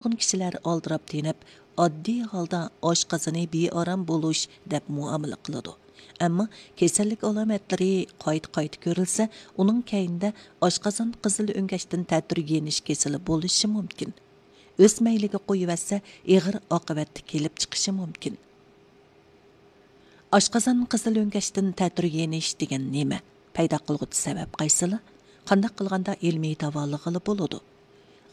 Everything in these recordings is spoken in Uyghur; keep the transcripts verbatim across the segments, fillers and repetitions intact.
نۇرغۇن كىشىلەر ئالدىراپ تېنىپ، ئاددىي ھالدا ئاشقازىنى بىئارام بولۇش دەپ مۇئامىلە قىلىدۇ. ئەمما كېسەللىك ئالامەتلىرى قايتا-قايتا كۆرۈلسە، ئۇنىڭ كەينىدە ئاشقازان قىزىل ئۆڭگەچتىن تەتۈر يېنىش كېسىلى بولۇشى مۇمكىن. ئۆز مەيلىگە قويۇۋەتسە، ئېغىر ئاقىۋەتتە كېلىپ چىقىشى مۇمكىن. ئاشقازان قىزىل ئۆڭگەچتىن تەتۈر يېنىش دېگەن نېمە؟ پەيدا قىلغۇچى سەۋەب قايسىلا؟ قانداق قىلغاندا ئىلمىي داۋالىغىلى بولىدۇ؟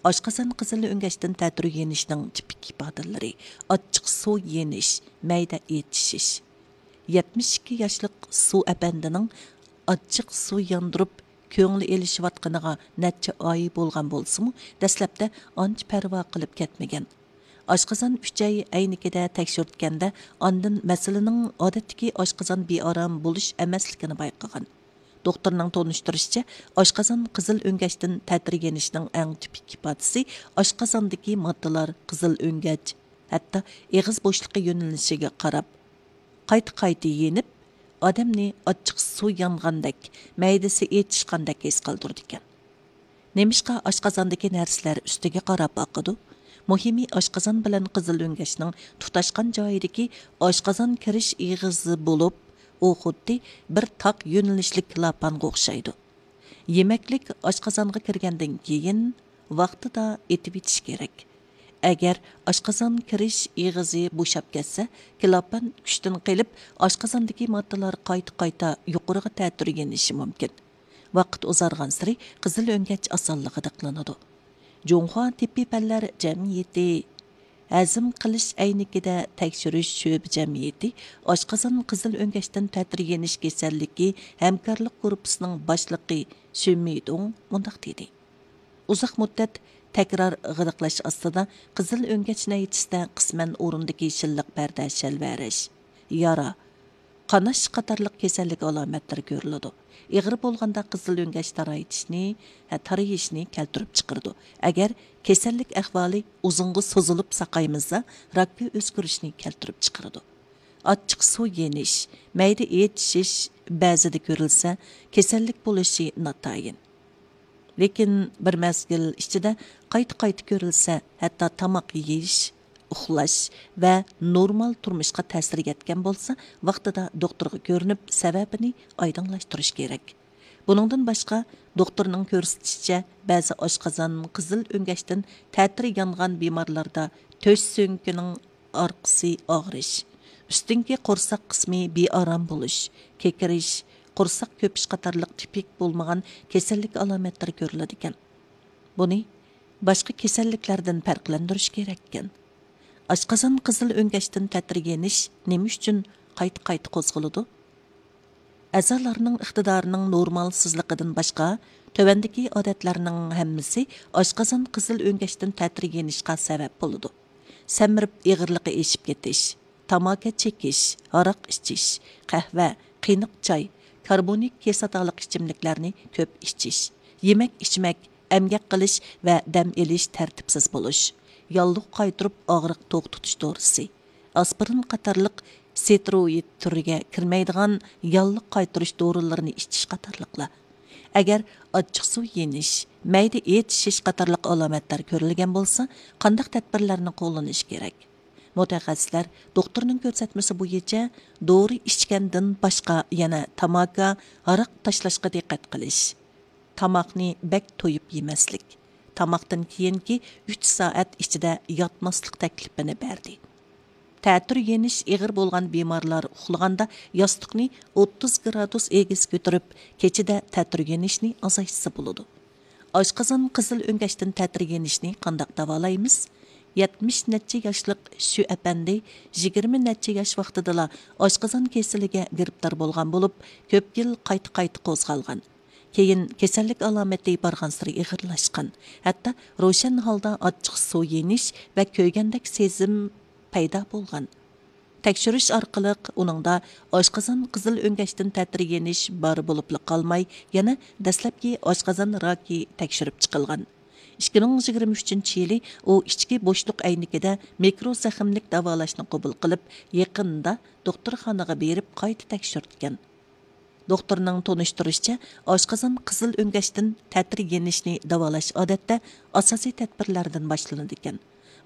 ئاشقازان قىزىل ئۆڭگەچتىن تەتۈر يېنىشنىڭ تىپىك ئىپادىلىرى: ئاچچىق سۇ يېنىش، مەيدە ئېچىشىش. يەتمىش ئىككى ياشلىق سۇ ئەپەندىنىڭ ئاچچىق سۇ ياندۇرۇپ، كۆڭلى ئېلىشىۋاتقىنىغا نەچچە ئاي بولغان بولسىمۇ، دەسلەپتە ئانچە پەرۋا قىلىپ كەتمىگەن. ئاشقازان ئۈچەي ئەينىكىدە تەكشۈرتكەندە، ئاندىن مەسىلىنىڭ ئادەتتىكى ئاشقازان بىئارام بولۇش ئەمەسلىكىنى بايقىغان. دوختۇرنىڭ تونۇشتۇرۇشىچە، ئاشقازان قىزىل ئۆڭگەچتىن تەتۈر يېنىشنىڭ ئەڭ تىپىك ئىپادىسى ئاشقازاندىكى ماددىلار قىزىل ئۆڭگەچ، ھەتتا ئېغىز بوشلۇقى يۆنىلىشىگە قاراپ، قايتا-قايتا يېنىپ، ئادەمنى ئاچچىق سۇ يانغاندەك، مەيدىسى ئېچىشقاندەك ھېس قىلدۇرىدىكەن. نېمىشقا ئاشقازاندىكى نەرسىلەر ئۈستىگە قاراپ ئاقىدۇ؟ مۇھىمى، ئاشقازان بىلەن قىزىل ئۆڭگەچنىڭ تۇتاشقان جايىدىكى ئاشقازان كىرىش ئېغىزى بولۇپ، ئۇ خۇددى بىر تاق يۆنىلىشلىك كىلاپانغا ئوخشايدۇ. يېمەكلىك ئاشقازانغا كىرگەندىن كېيىن ۋاقتىدا ئېتىۋېتىش كېرەك. ئەگەر ئاشقازان كىرىش ئېغىزى بوشاپ كەتسە، كىلاپان كۈچتىن قېلىپ، ئاشقازاندىكى ماددىلار قايتا-قايتا يۇقىرىغا تەتۈر يېنىشى مۇمكىن. ۋاقىت ئۇزارغانسېرى قىزىل ئۆڭگەچ ئاسانلا غىدىقلىنىدۇ. جۇڭخۇا تېببىي پەنلەر جەمئىيىتى ھەزىم قىلىش ئەينىكىدە تەكشۈرۈش شۆبە جەمئىيىتى ئاشقازان قىزىل ئۆڭگەچتىن تەتۈر يېنىش كېسەللىكى ھەمكارلىق گۇرۇپپىسىنىڭ باشلىقى شۈن مىدۇڭ مۇنداق دېدى: ئۇزاق مۇددەت تەكرار غىدىقلاش ئاستىدا قىزىل ئۆڭگەچ نەيچىسىدە قىسمەن ئورۇندىكى شىللىق پەردە شەلۋەرەش، يارا، قاناش قاتارلىق كېسەللىك ئالامەتلىرى كۆرۈلىدۇ. ئېغىر بولغاندا قىزىل ئۆڭگەچ تارايتىشنى، ھە، تارىيىشنى كەلتۈرۈپ چىقىرىدۇ. ئەگەر كېسەللىك ئەھۋالى ئۇزۇنغا سوزۇلۇپ ساقايمىسا، راككە ئۆزگىرىشنى كەلتۈرۈپ چىقىرىدۇ. ئاچچىق سۇ يېنىش، مەيدە ئېچىشىش بەزىدە كۆرۈلسە، كېسەللىك بولۇشى ناتايىن. لېكىن بىر مەزگىل ئىچىدە قايتا-قايتا كۆرۈلسە، ھەتتا تاماق يېيىش، ئۇخلاش ۋە نورمال تۇرمۇشقا تەسىر يەتكەن بولسا، ۋاقتىدا دوختۇرغا كۆرۈنۈپ، سەۋەبىنى ئايدىڭلاشتۇرۇش كېرەك. بۇنىڭدىن باشقا، دوختۇرنىڭ كۆرسىتىشىچە، بەزى ئاشقازان، قىزىل ئۆڭگەچتىن تەتۈر يانغان بىمارلاردا تۆش سۆڭىكىنىڭ ئارقىسى ئاغرىش، ئۈستۈنكى قورساق قىسمى بىئارام بولۇش، كېكىرىش، قورساق كۆپۈش قاتارلىق تىپىك بولمىغان كېسەللىك ئالامەتلىرى كۆرۈلىدىكەن. بۇنى باشقا كېسەللىكلەردىن پەرقلەندۈرۈش كېرەككەن. ئاشقازان قىزىل ئۆڭگەچتىن تەتۈر يېنىش نېمە ئۈچۈن قايتا-قايتا قوزغىلىدۇ؟ ئەزالارنىڭ ئىقتىدارىنىڭ نورمالسىزلىقىدىن باشقا، تۆۋەندىكى ئادەتلەرنىڭ ھەممىسى ئاشقازان قىزىل ئۆڭگەچتىن تەتۈر يېنىشقا سەۋەب بولىدۇ: سەمرىپ ئېغىرلىقى ئېشىپ كېتىش، تاماكا چېكىش، ھاراق ئىچىش، قەھۋە، قېنىق چاي، كاربونىك كىسلاتالىق ئىچىملىكلەرنى كۆپ ئىچىش، يېمەك ئىچمەك، ئەمگەك قىلىش ۋە دەم ئېلىش تەرتىپسىز بولۇش، ياللۇغ قايتۇرۇپ ئاغرىق توختىتىش دورىسى، ئاسپىرىن قاتارلىق ستېروئىد تۈرىگە كىرمەيدىغان ياللۇغ قايتۇرۇش دورىلىرىنى ئىچىش قاتارلىقلار. ئەگەر ئاچچىق سۇ يېنىش، مەيدە ئېچىشىش قاتارلىق ئالامەتلەر كۆرۈلگەن بولسا، قانداق تەدبىرلەرنى قوللىنىش كېرەك؟ مۇتەخەسسىسلەر دوختۇرنىڭ كۆرسەتمىسى بويىچە دورا ئىچكەندىن باشقا يەنە تاماكا، ھاراق تاشلاشقا دىققەت قىلىش، تاماقنى بەك تويۇپ يېمەسلىك، تاماقتىن كېيىنكى ئۈچ سائەت ئىچىدە ياتماسلىق تەكلىپىنى بەردى. تەتۈر يېنىش ئېغىر بولغان بىمارلار ئۇخلىغاندا ياستۇقنى ئوتتۇز گرادۇس ئېگىز كۆتۈرۈپ، كېچىدە تەتۈر يېنىشنى ئازايتسا بولىدۇ. ئاشقازان قىزىل ئۆڭگەچتىن تەتۈر يېنىشنى قانداق داۋالايمىز؟ يەتمىش نەچچە ياشلىق شۈ ئەپەندى يىگىرمە نەچچە ياش ۋاقتىدىلا ئاشقازان كېسىلىگە گىرىپتار بولغان بولۇپ، كۆپ يىل قايتا-قايتا قوزغالغان. كېيىن كېسەللىك ئالامىتى بارغانسېرى ئېغىرلاشقان، ھەتتا روشەن ھالدا ئاچچىق سۇ يېنىش ۋە كۆيگەندەك سېزىم پەيدا بولغان. تەكشۈرۈش ئارقىلىق ئۇنىڭدا ئاشقازان قىزىل ئۆڭگەچتىن تەتۈر يېنىش بار بولۇپلا قالماي، يەنە دەسلەپكى ئاشقازان راكى تەكشۈرۈپ چىقىلغان. ئىككى مىڭ يىگىرمە ئۈچىنچى يىلى ئۇ ئىچكى بوشلۇق ئەينىكىدە مىكرو زەخىملىك داۋالاشنى قوبۇل قىلىپ، يېقىندا دوختۇرخانىغا بېرىپ قايتا تەكشۈرتكەن. دوختۇرنىڭ تونۇشتۇرۇشىچە، ئاشقازان قىزىل ئۆڭگەچتىن تەتۈر يېنىشنى داۋالاش ئادەتتە ئاساسىي تەدبىرلەردىن باشلىنىدىكەن.